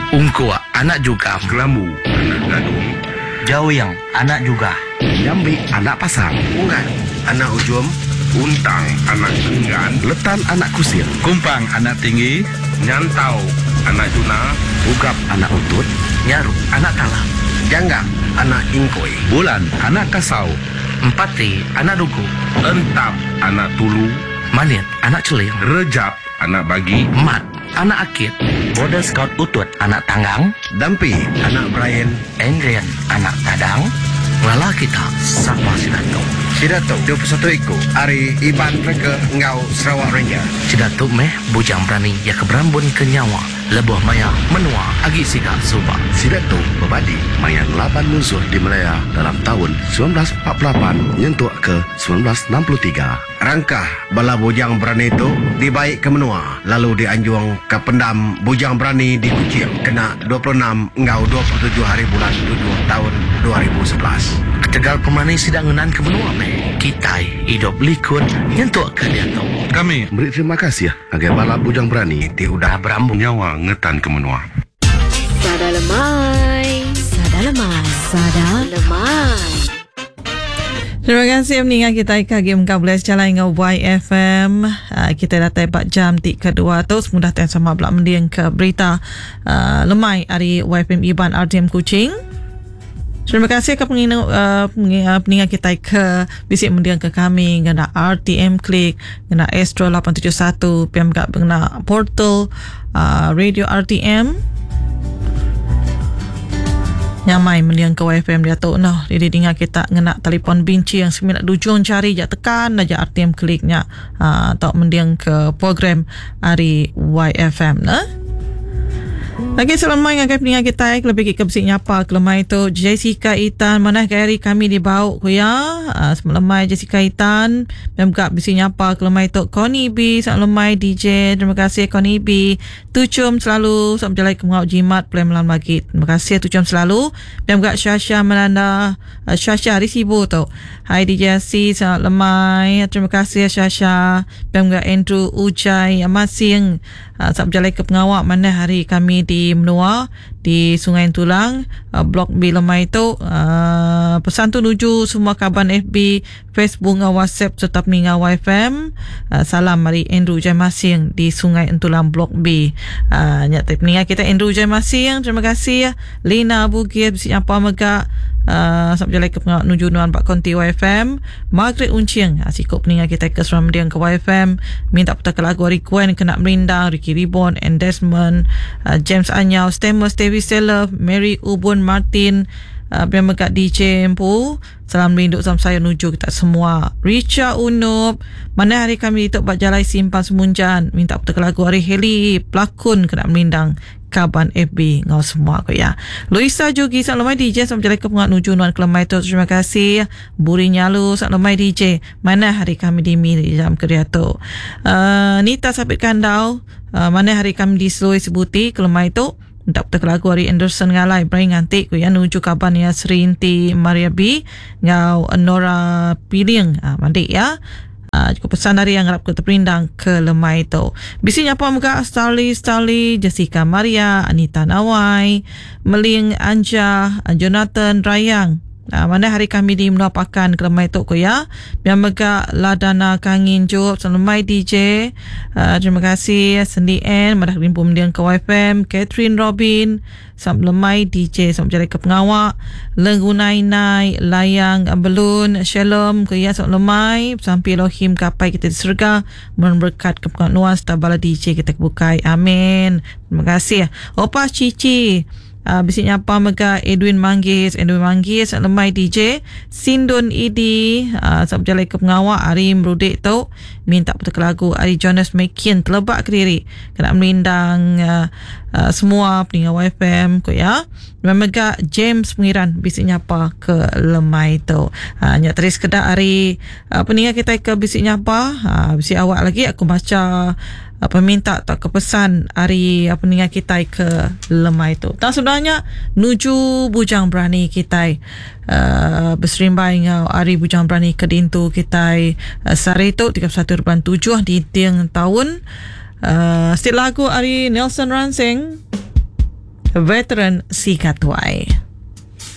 Ungkuk anak Jugam. Kelambu anak Gadung. Jawing anak Jugah. Nyambi anak Pasang. Unggat anak Ujum. Untang anak Enggan. Letan anak Kusing. Kumpang anak Tinggi. Nyantau anak Juna. Ugap anak Utut. Nyaru anak Talam. Janggap anak Ingkoi. Bulan anak Kasau. Empati anak Dugu. Entap anak Tulu. Manit anak Celing. Rejap anak Bagi. Mat anak Akit. Border Scout Utut anak Tanggang. Dampi anak Brian. Andrian anak Tadang. Ngelala kita sapa sida tu. Sida tu 21 iku ari Iban Tracker enggau Sarawak Ranger. Sida tu meh bujang berani iya ke berambun ke nyawa lebuh maya menua agi siga suba. Sida tu bebadi maya ngelaban munsuh di Malaya dalam taun 1948 nyentuk ke 1963. Rangkah bala bujang berani tu dibai ke menua lalu dianjung ke pendam Bujang Berani di Kuching kena 26 enggau 27 hari bulan tujuh taun 2011. Ketegal pemerani sida ngenanka menua meh kitai idup likun nyentuk ke diatu. Kami. Meri terima kasih ngagai bala bujang berani ti udah berambun nyawa ngetanka menua. Sada lemai. Sada lemai. Sada lemai. Terima kasih meninga kita ke agi mengkang bulih sejalai enggau YFM. Uh, kita datai ba jam ti kedua tu semudah ti sama bela mending ke berita uh, lemai ari YFM Iban RTM Kuching. Terima kasih ke penginu, uh, peninga kita ke bisi mending ke kami ngena RTM Click, ngena Astro 871, PM ngena portal uh, radio RTM. Nyamai mending ke YFM diatu noh. Jadi dinga kita ngena telefon binci yang semina dujung jari ja tekan aja RTM klik nya uh, tau mending ke program ari YFM nah. Lagi selemai ngagai peninga kita kelebih ke bisi nyapa kelemai tu Jessica Itan manah gaya hari kami di Bau ku ya. Uh, selemai Jessica Itan dan juga bisi nyapa kelemai tu Connie B selemai DJ terima kasih Connie B Tuchum selalu Selamat berjalai ke Mengau Jimat Play malam lagi. Terima kasih Tuchum selalu. Dan juga Syasha Melanda uh, Syasha hari Sibu tu. Hai DJ C selamat lemai. Terima kasih Syasha. Dan juga Andrew Ujai Masing. Uh, selamat berjalai ke pengawak mana hari kami di Menua di Sungai Tulang uh, Blok B lemai tu. Uh, pesan tu nuju semua kaban FB Facebook enggau WhatsApp sereta peninga YFM. Uh, salam ari Andrew Jai Masing di Sungai Entulang Blok B. Uh, nya ti peninga kita Andrew Jai Masing. Terima kasih. Lina Bugis bisi nyapa mega. Uh, sampai jalai ke pengawa nuju nuan ba konti YFM. Margaret Uncing, uh, siku peninga kita ke Seram Mending ke YFM. Minta putar ke lagu ari Gwen kena merindang, Ricky Ribon and Desmond, uh, James Anyau, Stemus Dewi Seller, Mary Ubun Martin, uh, biar mega DJ empu. Salam rindu salam sayau nuju kita semua. Richa Unup, mana hari kami ditu ba jalai simpang Semunjan minta putar lagu ari Heli pelakon kena merindang kaban FB ngau semua ko ya. Luisa Jugi sang lemai DJ sama jalai ke pengat nuju nuan kelemai tu terima kasih. Buri Nyalu sang lemai DJ mana hari kami di mi jam ke tu. Nita Sapit Kandau mana hari kami di Selui Sebuti kelemai tu. Minta putar lagu ari Anderson Ngalai Brian nganti ku ya nuju kaban ya Sri Inti Maria B ngau Nora Piling ha, mandi ya. Ha, cukup pesan dari yang harap ke terperindang ke lemai tu. Bisi nyapa mega Starly Starly, Jessica Maria, Anita Nawai, Meling Anja, Jonathan Rayang. Nah, mana hari kami di menua pakan ke lemai tu ku ya. Biar mega Ladana Kangin Job, lemai DJ. Terima kasih Sendi N, madah rimpu mendiang ke YFM, Catherine Robin, sam lemai DJ, sam jalai ke pengawak, Lenggunai Nai, Layang Belun, Shalom ku ya, sam lemai, sampai Elohim kapai kita di serga, memberkat ke pengawak nuan serta bala DJ kita kebukai. Amin. Terima kasih. Opa Cici. Bisi nyapa mega Edwin Manggis, Edwin Manggis lemai DJ, Sindun Idi, sab jalai ke pengawak ari merudik tu minta putar lagu ari Jonas Mekin telebak ke diri kena merindang semua peninga YFM ko ya. Dan mega James Pengiran bisi nyapa ke lemai tu. Nya tadi sekedar ari peninga kita ke bisi nyapa, bisi awak lagi aku baca peminta atau kepesan ari peninga kita ke lemai tu. Tak sebenarnya nuju bujang berani kita berserimbai ngau ari bujang berani ke dintu kita sehari tu 31.7 di tiang tahun. Setiap lagu ari Nelson Ransing. Veteran Sigat Tuai.